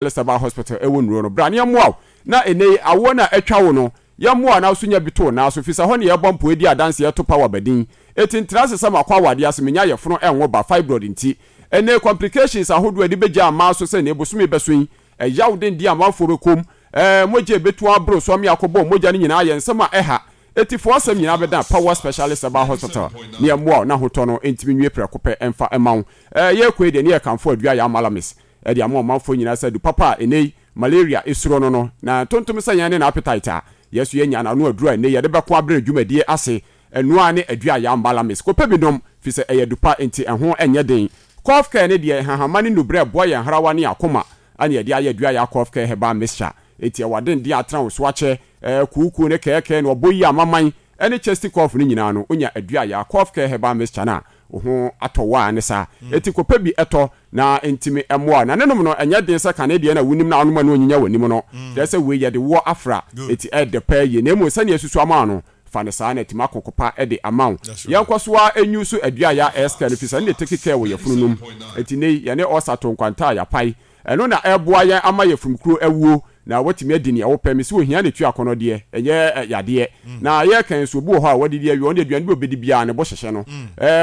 Elizabeth Hospital wɔ nnuro no. Bra na yɛmmoa wo na ɛnnɛ yi awoɔ no a atwa wo no, yɛmmoa wo na wo nso nya bi to wo nan so, firi sɛ ɛhɔ na yɛbɔ mpo di adanseɛ to power ba din. Enti ntra ase sɛ makɔ awadeɛ ase menya yɛfono ɛnwo ba, fibroid nti. Ɛnnɛ yi complications ahodoɔ a ɛde bɛgya mmaa so sɛ nnɛ bosome bɛso yi, ɛyaw denden a amanfoɔ bɛkɔ mu, ɛɛ mogya a ɛbɛtu aboro so ame akɔbɔ mogya no nyinaa yɛ nsɛm a ɛha. Etifoɔ asɛm nyinaa bɛdan Power Specialist Herbal Hospital ne yɛmmoa wo na ahotɔ no ntumi nwie prɛko pɛ mfa mma wo. Ɛɛ yɛrekɔ yi deɛ ne yɛrekamfo Adua Yaa Malamis de ama ɔmanfoɔ nyinaa sɛ adu papa a ɛnnɛ yi malaria suro no no, na ntontom sɛ yɛn ne n'appetite a yɛn nso yɛanya no ano aduru a ɛnnɛ yi yɛde bɛko abrɛ dwumadie ase. Ɛno ara ne adua yam Malamis. Kɔpɛ bi nom, firi sɛ ɛyɛ adu pa nti ɛho nyɛ den. Cough Care no deɛ nhahamma ne nnubrɛ ɛboa yɛn hrawa ne yɛn akoma na yɛde ayɛ adua ya Cough Care Herbal Mixture. Enti ɛwɔ adenden a atena wo so akyɛ, ɛɛ kuukuu ne kɛɛkɛɛ ne ɔbɔ yi amaman ne chesty cough no nyinaa no, wonya adua ya Cough Care Herbal Mixture no a, wo ho atɔ wo ara ne saa. Enti kɔpɛ bi tɔ na ɛntumi mmoa wo. Na ne nom no, ɛnyɛ den sɛ kane deɛ na wonim na wonom a na ɔnyinya w'anim no. Kyerɛ sɛ wei yɛde woɔ afra, enti ɛyɛ dɛ paa yie. Na mmom sɛdeɛ asusu ama wo no, fa no saa na atumi akoko pa de ama wo. Yɛnkɔ so ara nyi so aduayɛ a ɛyɛ no, firi sɛ ɛno na ɛtake care wɔ yafunu no mu. Enti nnɛ yi, yɛne ulcer to nkwanta a yɛapae. Ɛno na ɛreboa yɛn ama yafunu kuro awuo na woatumi adi nea wopɛ. Mese ohia na ɛtua akɔnnɔ deɛ, ɛnyɛ yadeɛ. Na yɛreka yi nso, obi wɔ hɔ a wadidi awie, ɔno deɛ aduane bi a ɔbɛdi biara ne bo hyehye no.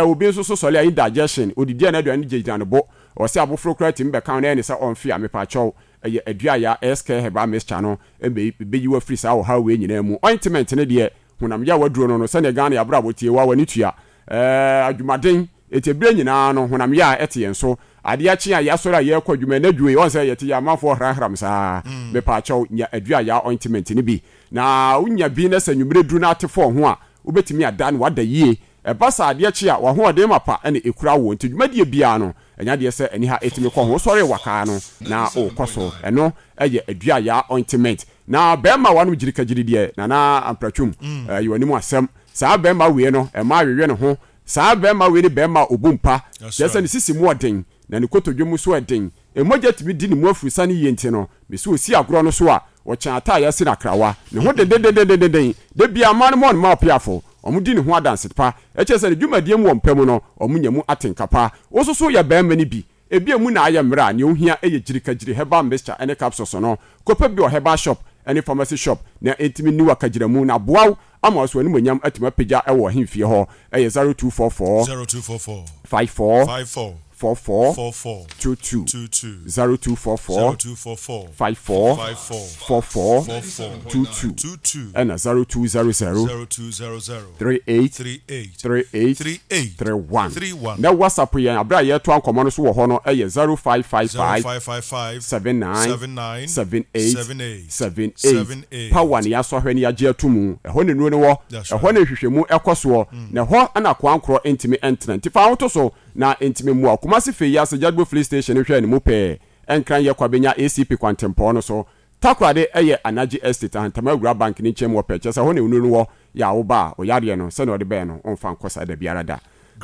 Obi nso so sɔre a indigestion, ɔdidi a na aduane no gyinagyina ne bo. Ɔse aboforo koraa tumi bɛka ho na ɛyɛ ne sɛ ɔmfe a, mepaakyɛw, ɛyɛ aduaya, Escare Herbal Mixture no bɛyi wo afiri saa ɔhaw wei nyinaa mu. Ointment no deɛ, honam yaw aduro no no, sɛdeɛ Ghana yɛabrabɔ tie, wo a w'ani tua. Ɛɛ, adwumaden, enti berɛ nyinaa no, honam yaw a ɛte yɛn so. Adeɛ akye a yɛasɔre a yɛrekɔ adwuma, ɛnnɛ dwo yi, woahu sɛ yɛte yɛn amanfoɔ hramhram saa. Mepaakyɛw, nya aduaya ointment no bi. Na wonya bi na sɛ anwummerɛ duru na ate fɔɔ ho a, wobɛtumi ada na woada yie. Ɛba saa adeɛ kye a, w'ahoɔden mapa na ɛkura wo. Nti dwumadie biara no, ɛnyɛ adeɛ sɛ aniha ɛtumi kɔ ho. Wosɔre wakaa no na wokɔ so. Ɛno yɛ aduaya ointment. Na bɛɛma wanom gyirikagyiri deɛ, Nana Ampratwum, ɛyɛ w'anim asɛm. Saa bɛɛma wei no, ɛma awewe ne ho. Saa bɛɛma wei ne bɛɛma a ɔbu mpa. Kyerɛ sɛ ne sisi mu ɔden, na ne kotodwe mu nso ɛden. Mogya tumi di ne mu afurusane yie nti no, mese ɔsi agorɔ no so a, ɔkyɛn ata a yɛasi no akrawa. Ne ho dendendendenden. Da biara mmaa no mɔ no ma ɔpeafo. Wɔdi ne ho adanse pa. Ɛkyerɛ sɛ ne dwumadie mu wɔ mpa mu no, wɔnya mu atenka pa. Wo nso so yɛ barima no bi. Ebia emu na ayɛ mmerɛ a, nea wohia yɛ gyirikagyiri herbal mixture ne capsules no. Kɔpɛ bi wɔ herbal shop ne pharmacy shop na ɛntumi nni w'akagyiramu na aboa wo ama wo so animuonyam atumi apagya wɔ ahemfie hɔ. Ɛyɛ 0244 0244 54 54 44 44 22 22 0244 0244 54 54 44 44 22 22 ɛna 0200 0200 38 38 38 38 31 31 Na WhatsApp yɛn aberɛ a yɛretoa nkɔmmɔ no so wɔ hɔ no yɛ 0555 0555 79 79 78 78 78 78 Power na yɛasɔ ahwɛ na yɛagye ato mu. Ɛhɔ na nnuro no wɔ, That's ɛhɔ right. na nhwehwɛmu kɔ soɔ, na ɛhɔ na akoa nkorɔ ntumi ntena. Nti fa wo ho to so na ɛntumi mmoa wo. Kumasi Fei ase Jadbo Filling Station no hwɛ ne mu pɛɛ. Nkran yɛ Kwabenya ACP kwantempɔn no so. Takoradi yɛ Anagye Estate, Ahantama Awura Bank no nkyɛn mu wɔ pɛ, kyerɛ sɛ ɛhɔ na onuru no wɔ, yɛ a woba a, ɔyareɛ no, sɛnea ɔde bɛɛ no, womfa nkɔ saa dabiara da.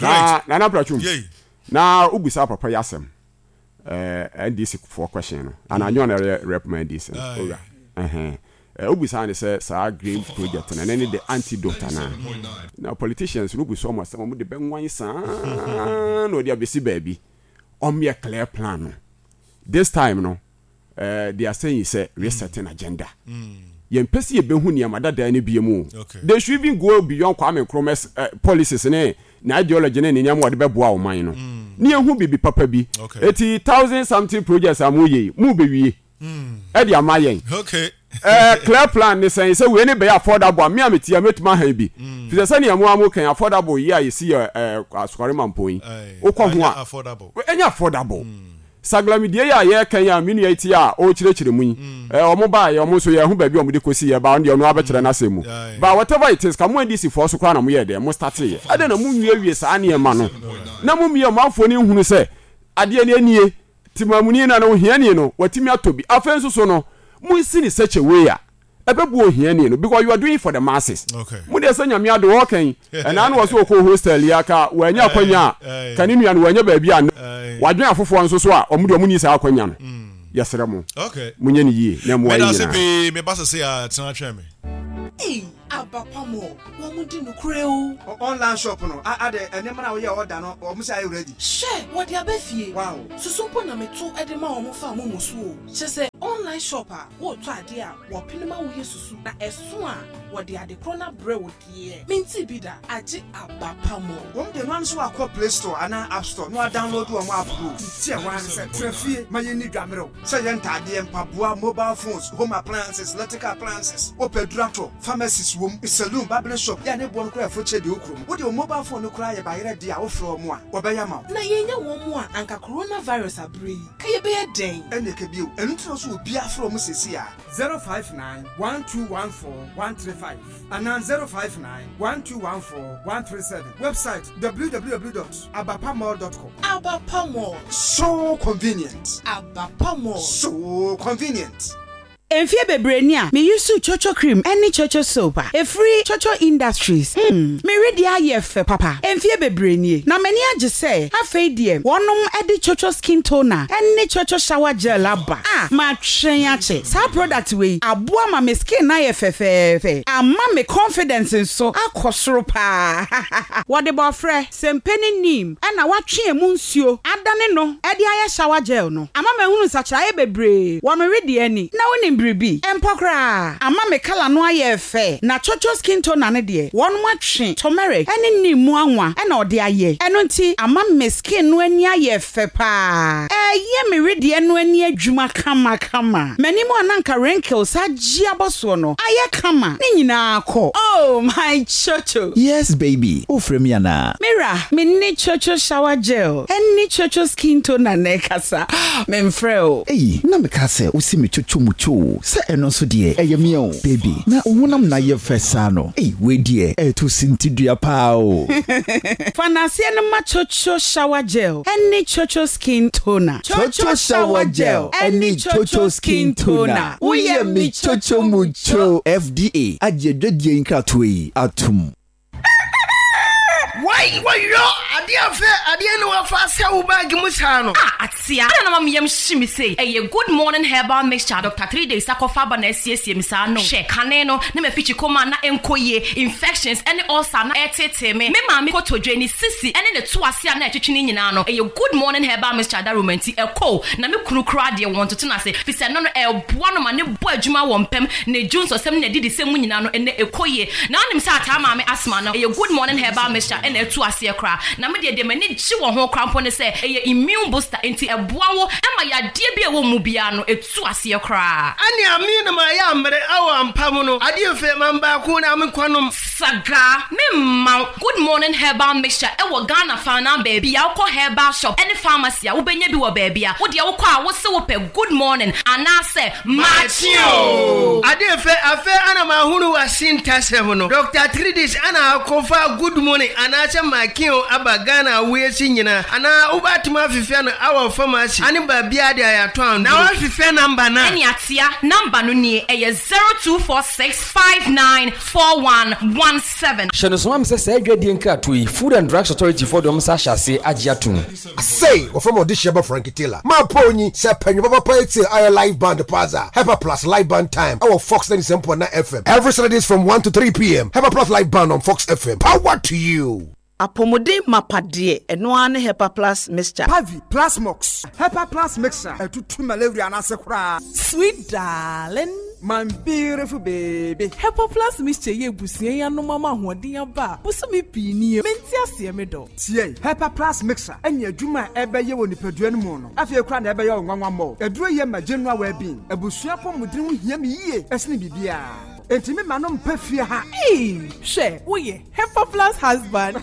Na Great. Nana Bratwum, Yei. na wobisa papa yi asɛm, eh, NDC foɔ question no, anaa nyɛ ɔna ɛyɛ rep ma NDC no, Aye. owura, ɛhɛn, eh, wobisa ne sɛ saa green project no, ɛno ne the antidote anaa? Na politicians no wobu so ɔmo asɛm, ɔmo de bɛnwan saa na ɔde abɛsi baabi, ɔmo yɛ clear plan no. This time no, eh, they are saying sɛ resetting agenda. Yɛmpɛ sɛ yɛbɛhu nneɛma dadaa no bio mu. Okay. They should even go beyond Kwame Nkrumah's eh, policies ne ne ideology ne ne nneɛma a wɔde bɛboa ɔman no. Ne yɛhu biribi papa bi. Okay. Eti thousand something projects a moyɛ yi, mobɛwie ɛde ama yɛn. Okay. Eh, clear plan ne sɛn sɛ wei ne bɛyɛ affordable a me a mete a mɛtumi ahan bi. Fi sɛ sɛnea mo a mo kan affordable yi a yɛsi yɛ eh, Asukare Mampɔn yi, Aye. wokɔ ho Ɛnyɛ a, affordable. ɛnyɛ affordable. Saglamidie yi a yɛreka yi a me nua yi te a ɔrekyerɛkyerɛ mu yi, eh, wɔn baeɛ, wɔn nso yɛn ho baabi a wɔde kɔsi yɛ, ba ɔno deɛ ɔno abɛkyerɛ n'asɛm mu. Aye. But whatever it is, ka mo NDC foɔ so koraa na moyɛɛ dɛn, mo starteeɛ. Adɛn na monwiewie saa nneɛma no na mommie ɔmanfoɔ no nhunu sɛ adeɛ no nie, temamuni no anaa ohiani no watumi atɔ bi. Afei nso so no, monsi no such a way a ɛbɛboa ohiani no because you are doing it for the masses. Okay. Mo deɛ sɛ Nyame adom ɔɔka yi, ɛnaa no wɔ so ɔkɔɔ hostel yi a ka wannya akwanya a, ka ne nua no wannya baabi a Aye. wadwen afoforɔ nso so a ɔmo deɛ ɔmo nni saa akwanya no. Yɛsrɛ mo, Okay. monyɛ no yie na ɛmmoa Meda yɛn ase nyinaa. pii, me ba sese a tena twɛn me. Ei! Aba pa mɔ, wɔn di nokorɛ o. Online shop no a adɛ nneɛma no a woyɛɛ order no wɔn sɛ ayɛ ready. Hwɛ! Wɔde aba fie. Wow. Susu mpo na meto de ma wɔn fa momo so o. Kyerɛ sɛ online shop a woretɔ adeɛ a wɔpene ma woyɛ susu na ɛso a wɔde ade korɔ no abrɛ wo deɛ mentee bi da agye aba pa mɔ. Wɔn deɛ noa ne sɛ wakɔ play store anaa app store na wa download wɔn app no o. Nti ɛhɔ ara ne sɛ tena fie ma yɛnni dwa mmerɛw. Sɛ ɛyɛ ntaadeɛ, mpaboa, mobile phones, home appliances, electrical appliances, wopɛ aduru atɔ, pharmacies wom, saloon, barbering shop, yɛ a ne boɔ no koraa ɛfo kyɛ deɛ ɛwɔ kurom. Wode wo mobile phone no koraa yɛ bayerɛ deɛ a wofrɛ wɔn a, wɔbɛyɛ ama wo. Na yɛnnya wɔn mu a anka coronavirus aberɛ yi ka yɛbɛyɛ dɛn? Ɛnneɛ ka bio. Ɛno nti na ɔsɛ obiara frɛ wɔn seesei ara. 059 1214 135 anaa 059 1214 137. Website, www dot abapamall dot com. Abapa Mall. So convenient. Abapa Mall. So convenient. Mfeɛ bebree ni a me use coco cream ne coco soap a ɛfiri coco industries hmm me wedeɛ ayɛ fɛ papa mfeɛ bebree nie na m'ani agye sɛ afei deɛ wɔnom de coco skin toner ne coco shower gel aba a matwɛn akyɛ saa product wei aboa ma me skin no ayɛ fɛfɛɛfɛ ama me confidence nso akɔ soro paa hahaha wɔde bɔɔfrɛ Sɛmpe ne neem na wɔatwe emu nsuo adane no de ayɛ shower gel no. Ama mahunu nsakyeraeɛ bebree wɔ me wedeɛ ani. Na wonim biribi? Ɛmpɔ koraa. Ama me kala no ayɛ fɛ. Na Chocho skin toner no deɛ, wɔnom atwe turmeric ne neem mu anwa na ɔde ayɛ. Ɛno nti ama me skin no ani ayɛ fɛ paa. Ɛreyɛ me wedeɛ no ani adwuma kamakama. M'anim a na anka wrinkles agye abɔ soɔ no ayɛ kama. Ne nyinaa kɔ. Oh my Chocho! Yes baby, wofrɛ me anaa? Me wura, me ne Chocho shower gel ne Chocho skin toner na ɛkasa, memfrɛ wo. Ei, na meka sɛ wose me Chocho mu cho o, sɛ ɛno nso deɛ ɛyɛ me o. Baby, na wo honam na ayɛ fɛ saa no, ei wei deɛ ɛreto sintidua paa o. Fa nnaseɛ no ma Chocho shower gel ne Chocho skin toner. Chocho shower gel ne Chocho skin toner, woyɛ me Chocho mu cho. FDA agye adwadie yi nkratoɔ yi atom. Wai wɔyɔ adeɛ afɛ adeɛ ne wafa asɛ wo bag mu saa no. Ah atea adɛn na ma me yam hye me sei ɛyɛ good morning herbal mixture a Doctor Three Days akɔfa aba na asiesie me saa no hwɛ kane no na mafikyi koma a na ɛnkɔ yie infections ɛne ulcer a na ɛreteetee me me maame kotodwe ne sisi ɛne ne to ase a na ɛtwetwe ne nyinaa no ɛyɛ good morning herbal mixture adaroma nti ɛkɔ o na me kunu koraa deɛ wɔntoto no ase fisɛ ɛno no ɛboa no ma ne bɔ adwuma wɔ mpam ne dwonsɔsɛm ne n'adidisɛm mu nyinaa no ɛnɛ ɛkɔ yie. Na wonim sɛ ataa maame asthma no ɛyɛ good morning herbal mixture ɛna atu aseɛ koraa. Na me deɛ deɛ m'ani gye wɔ ho koraa mpo ne sɛ ɛyɛ immune booster enti ɛboa wo ma yadeɛ bi a ɛwɔ wo mu biara no ɛtu aseɛ koraa. Ɛne ame na mayɛ amere awɔ ampa mu no adeɛ mfe man baako na me nkwa nom. Sagaa, me mma wo good morning herbal mixture ɛwɔ Ghana faanaa baabi a wokɔ herbal shop ɛne pharmacy a wobɛnya bi wɔ baabi a wodeɛ wokɔ a wose wopɛ good morning anaasɛ Makye oo! Ade fɛ, afei ana mahunu w'asintasɛm no. Doctor Tridis ana akɔfa good morning anaasɛ makye oo aba Ghana awiase nyinaa anaa wobɛatumi afefɛ no awɔ pharmacy ane baabiaa de ayatɔ anduro. Na wafefɛ number no a. Ɛne atea, number no nie, ɛyɛ 0246594117. Hyɛ no nso ma me sɛ saa adwadie nkratoɔ yi, Food and Drugs Authority foɔ de wɔn nsa ahyɛ aseɛ agye atom. Asei, wɔfrɛ me ɔdehyeɛ ba Frankie Taylor. Mapɔ onyi sɛ pɛ nwom papapa etsie ayɛ live band paa dza, Hepa Plus Live Band Time ɛwɔ Fox 97.9 FM every Saturdays from 1 to 3 pm. Hepa Plus Live Band on Fox FM. Power to you! Apɔmuden mapa deɛ, ɛno ara ne Hepa Plus Mixture. Pavi, Plasmox, Hepa Plus Mixture, ɛtutu malaria no ase koraa. Sweet darling. My beautiful baby. Hepa Plus Mixture yi abusua yi anom ama ahoɔden aba a bosome pii nie. Mente aseɛ me dɔ. Tie! Hepa Plus Mixer ne adwuma a ɛbɛyɛ wɔ nipadua no mu no, afei koraa na ɛbɛyɛ wo nwanwa mmɔ. Aduro yi ma general well-being. Abusua apɔmuden ho hia me yie sene biribiara. Enti me ma no mpa fie ha. Eii hwɛ woyɛ Hepa Plus husband.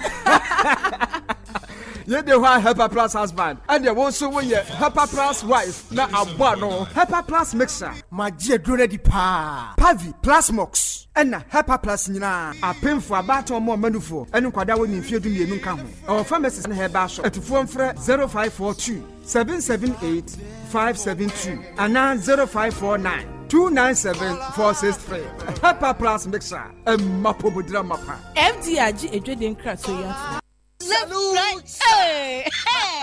Yei de hɔ a Hepa Plus husband, ɛnneɛ wo nso woyɛ Hepa Plus wife na abɔ ano. Hepa Plus Mixer. Magye aduro no adi paa. Pavi, Plasmox, ɛna Hepa Plus nyinaa. Apemfo, abaatan, ɔmo a ɔma ne nkwadaa a wɔnni mfeɛ 12 nka ho. Ɛwɔ pharmacies ne herbal shop. Atufoɔ mfrɛ 0542 778 572 anaa 0549 297 463. Hepa Plus Mixer, ɛmma pomodira mapa. FDA agye adwadie nkratoɔ yi atom. Left, right, hey, hey.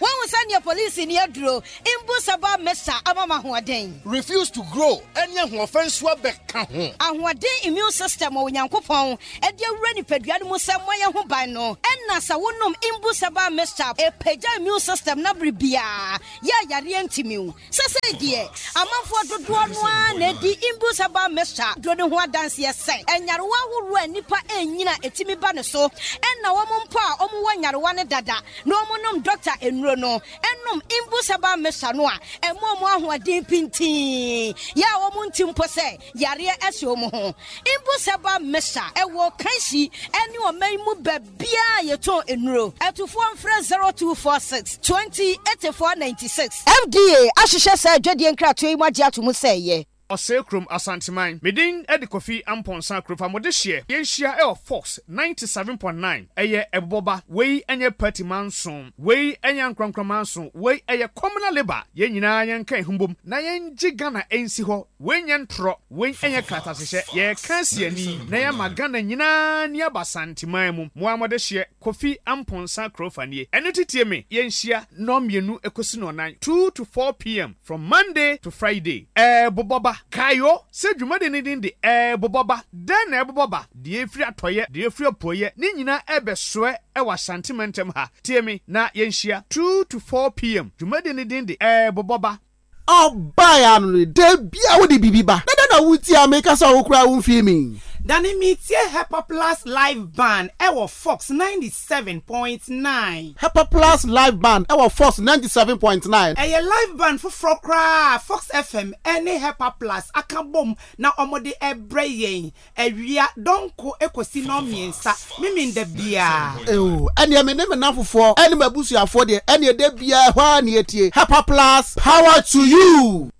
Woahu sɛdeɛ polisini aduro mbu sɛ ba mesa ama me ahoɔden? Refuse to grow ɛne ahoɔfɛ nso abɛka ho. Ahoɔden immune system a Onyankopɔn de awura nipadua no mu sɛ mmɔ yɛn ho ban no, ɛna sɛ wonom Imbu Herbal Mixture a, ɛpagya immune system no bere biara, yɛ a yareɛ ntumi wo. Sesei deɛ, amanfoɔ dodoɔ no ara na ɛdi Imbu Herbal Mixture duro no ho adanseɛ sɛ nyarewa ahoroɔ a nnipa ɛrenyini a ɛtumi ba ne so, ɛna wɔn mpo a wɔwɔ nyarewa no dada na wɔnom dɔkta nnuro no, nom Imbu Herbal Mixture no a, ɛma wɔn ahoɔden pintinn, yɛ a wɔnte mpo sɛ yareɛ ahyɛ wɔn ho. Imbu Herbal Mixture, ɛwɔ Kanshi ne ɔman yi mu baabiara a yɛtɔn nnuro. Atufoɔ mfrɛ 0246 20 84 96. FDA ahyehyɛ saa adwadie nkratoɔ yi mu agye ato mu sɛ ɛyɛ. Ɔsɛe Kurom Asanteman. Me din de Kofi Amponsah Kurofa mo dehyeɛ yɛnhyia wɔ Fox 97.9 ɛyɛ ɛbobɔba wei ɛnyɛ party manso wei ɛnyɛ ankorankora manso wei ɛyɛ communal labour yɛn nyinaa yɛnka yɛn ho mbom na yɛngye Ghana nsi hɔ wei nyɛ ntorɔ wei ɛnyɛ kratahyehyɛ yɛreka asi ani na yɛama Ghana nyinaa ani aba Asanteman mu mo ara mo dehyeɛ Kofi Amponsah Kurofa nie ɛno nti tie me yɛnhyia nnɔnmienu kɔsi nnɔnnan 2 to 4 pm From Monday to Friday, Ɛrebobɔ ba. Kae o, sɛ dwumadi no din de Ɛrebobɔ Ba. Dɛn na ɛrebobɔ ba? Deɛ ɛfiri atɔeɛ, deɛ ɛfiri apueeɛ, ne nyinaa ɛrebɛsoɛ wɔ Ashanti mantam ha. Tie me na yɛnhyia 2 to 4 PM. Dwumadi no din de Ɛrebobɔ Ba. Ɔbae ano no, da biara wode biribi ba, na dɛn na wutie a meka sɛ wo koraa wumfii me? Dane metie Hepaplus Live Band ɛwɔ Fox 97.9. Hepaplus Live Band ɛwɔ Fox 97.9. Ɛyɛ live band foforɔ koraa a Fox FM ne Hepaplus aka bom na wɔde rebrɛ yɛn awia dɔnko kɔsi nnɔnmiɛnsa Memenda biara. Eww ɛneɛ me ne me nnamfofoɔ ɛne m'abusuafoɔ deɛ ɛneɛ da biara ɛhɔ ara na yɛtie Hepaplus power to you.